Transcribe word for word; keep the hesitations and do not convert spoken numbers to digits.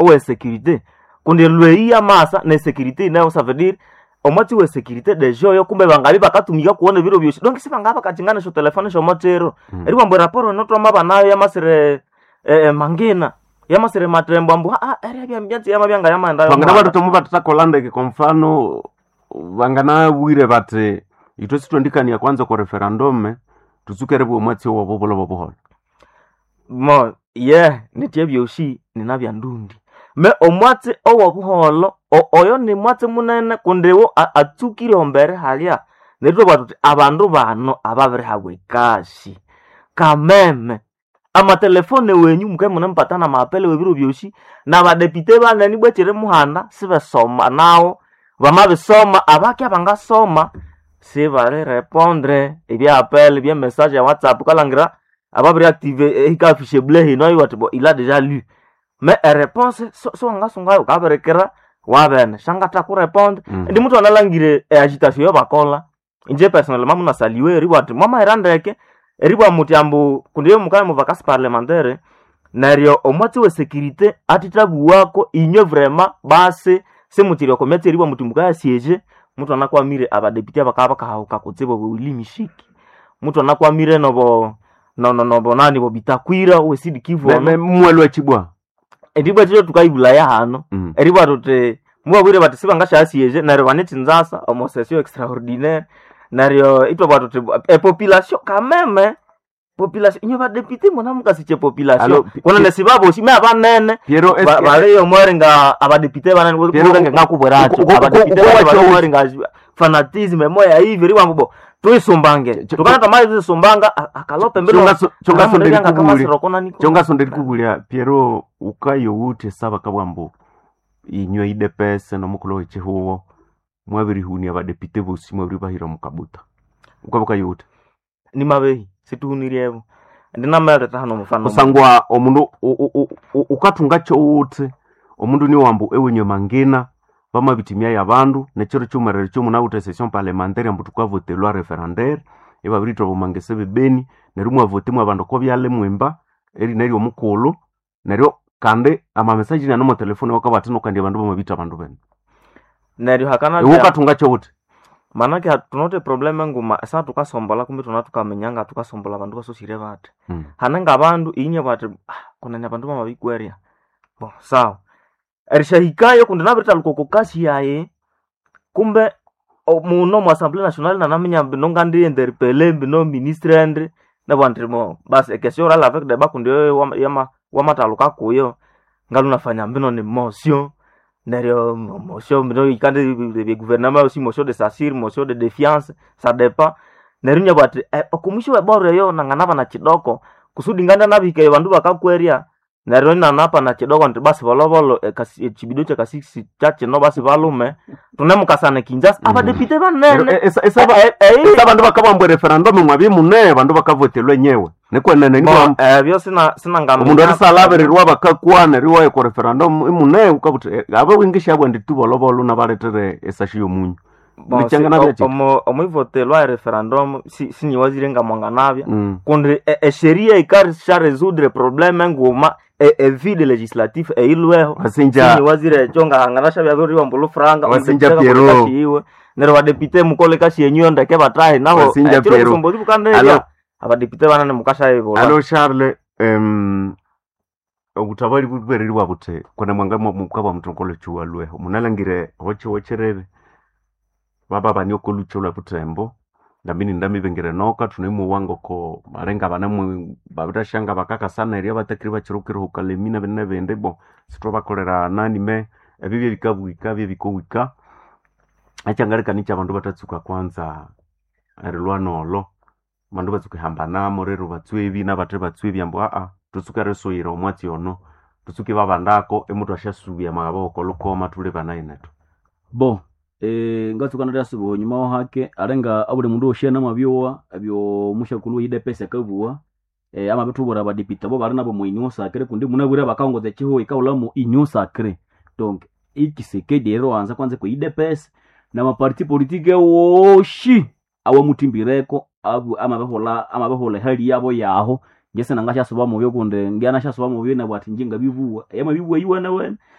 owe sécurité, kundi lwei yamasa ne sécurité inayo. Ça veut dire omwatsi we sécurité deja oyo kumbe bangabi bakatumika kuwona ebiro byosi, donc sibangaba bakachingana esyo telefone syomotsiro. Mm. Eribwa raporo eno twamaba nayo yamasire eh, mangina yamasire matembo ambu ah, ah, eria byambyatsi yamabyanga yamaendayo. Vangana vatotomo vatatakola ndeke. Kwa mfano vanganawire vati itwe sitwendikania kwanza kwa referendum, tutsukere bwa omwatsi wobo bulo bobuhola. Mo ye nitye byosi nina bya ndundi me omwatsi owobuholo o- oyo ni mwatsi munene kundiwo a- atsukire ombere halya. Neryo twabugha tuthi abandu bano ababirihabwa ekasi kameme amatelefone wenyu muke munemupatana maapele webiro byosi nabadepite banene bwekiri muhanda sibesoma nawo bamabisoma abake abangasoma sibalirepondre ebyapele byemessage ya WhatsApp kalangira ababiri active ehikafishe bleu hino iwati bo il a déjà lu mais eréponse siwangasungayo ukabirikira wabene shangatha kurepondre. Mm. Ndi muthu analangire eagitation yobakola, inje personnellement munasaliwe eribwa ati mwamahira ndeke eribwa muti ambu kundi mukaya mu vacances parlementaire. Neryo omwatsi we sécurité atithabuwako inywe vraiment basi simutsiri oko myatsi eribwa muti mukaya siege. Muthu anakwamire abadepite abakabya bakahahuka kutsibu Willy Mishiki, muthu anakwamire nobo nono nobo nani bo Bitakwira we Sud Kivu. Me- ono me- mwelwa chibwa. Eribwa tito tukaibulaya hano. Mm. Eribwa tuti mubabwire bati sibangashyasiyeje neryo banethinzasa omo session extraordinaire. Neryo itwabwa tuti epopulation kameme population inywe badepite muna mukasiche population. Alo, pi- Kunene sibabosi me abanene Piero ba- eske baliyo mweringa abadepite banene Piero, kulenge ngakubweracho uko- uko- abadepite uko- banene uko- bali mweringa fanatisme moya hivi riwa mbo tuisumbange Cho- tukana tamayi tuisumbanga akalope mbino. Chongaso ndikubulya Piero ukayo ute saba kabwambo inywe idepese nomukulo wechihuwo mwabirihunia badepite bosi mwabiribahira mukabuta ukabukayo ute. Ni mabehi situhuniryevo ndinameleta hano mufano. Kusangwa omundu u- u- u- u- ukathunga kyowuthi omundu niwambu ewenywe mangina bamabitimya yabandu nekiro kyumerere kyomunawuthe session parlementaire ambu tukavote loi referendaire ibabirithwa bomangese bebeni neryo mwavote mwabandu oko byalha mwimba eri neryo omukulhu neryo kandi amamesaji nano motelefone wakabathi nokandi abandu bamabitha abandu bene. Neryo hakana Iwe ukathunga kyowuthi. Manake ha- tunote probleme nguma esa tukasombola kumbe tuna tukamenyanga tukasombola abandu basosire bathi Mm. hanenga abandu inye bati ah, kunene abandu bamabikwerya bo sawa erishahikayo kundi nabirithaluka oko kasi yayi kumbe o- muno mu assemblée nationale nanaminya mbino ngandi interpele mbino ministre ndi nabwa ndi mo basi ekesio orale avec débat kundi oyo wama- yama- wamathaluka kuyo ngalunafanya mbino ni motion. Neryo mo- motion mbino ikandi bye gouvernement aussi motion de censure, motion de défiance, ça dépend. Neryo nyabwa ati eh, okumwisho weboro eyo nanganaba na chidoko kusudi nganda nabihikayo bandu bakakwerya. Neryo inanapa na chidoko nti basi bolobolo ekasi- echibido kyakasisi kyakino basi balume tunemukasana kinjasa Mm. abadepite Neryo banene. e- esa- esa- Eh, eh, eh, esa abandu bakabambwa referendum mwabye mune abandu bakavotelwa nyewe nikwenene bo nikwa ebyo sina omundu sinangamenya. arisalhabirirwa bakakwana riwayo kwa referendum imune ukabuthi abe wingishabwa ndi tu bolobolo nabaletere esashi yomunyu. Bo, si- Nichangana o- bya omo- omwivotelwa ereferendum si- sinyiwazire ngamwanganabya Mm. kundi e- esheria ikarisha résoudre problème nguma e- evide législatif eilweho. Wasinja Sinyiwazire ekyo ngahanganasha byabiriwa mbulu franga. Wasinja Piero. Iwe neryo badepite mukole kasi yenyu yo ndeke batahe naho. Wasinja ekiro Piero. busombozi Alo. bukanderya abadepite banene mukashayibola. Alo Charles, em obutabali bubereri buthi kona mwanga mukaba mutongolo chuwa lweho munalangire hoche hocherere baba bani okolucho lwa butembo ndamini ndamibengere noka tunemuwanga ko malenga banamwe babirashanga bakakasana eria batakiri bachirukire hukalemina bene bende bo sitwabakolera nani me ebyo byebikabwika byebikowika achangalikani cha bandu batatsuka kwanza erilwa nolo bandu batsuka ihambanamo rero batswe nabathe batswe ambu aa tutsuke risuyira omwatsi ono tutsuke babandako emutu asyasubya magaboko lukoma tuli banayinetu. Bo eh, ngatsuka nalyasuba onyuma wahake alenga abuli mundu wosi namabyowa ebyo mushakulu we U D P S akabuwa eh, amabithubwira abadepite abo bali nabo mu union sacrée kundi munabwire bakahongoza ekihuho ikahulhamu union sacrée. Donc ikisekedi eriwanza kwanza ku U D P S namaparti politique woshi awamuthimbireko abu amabiholha amabiholha ehali yabo yaho. Ngese nangasyasuba mubyo kundi ngyanashyasuba mubyo nabwa ati nje ngabibuwa eyamabibuwa yiwene wene.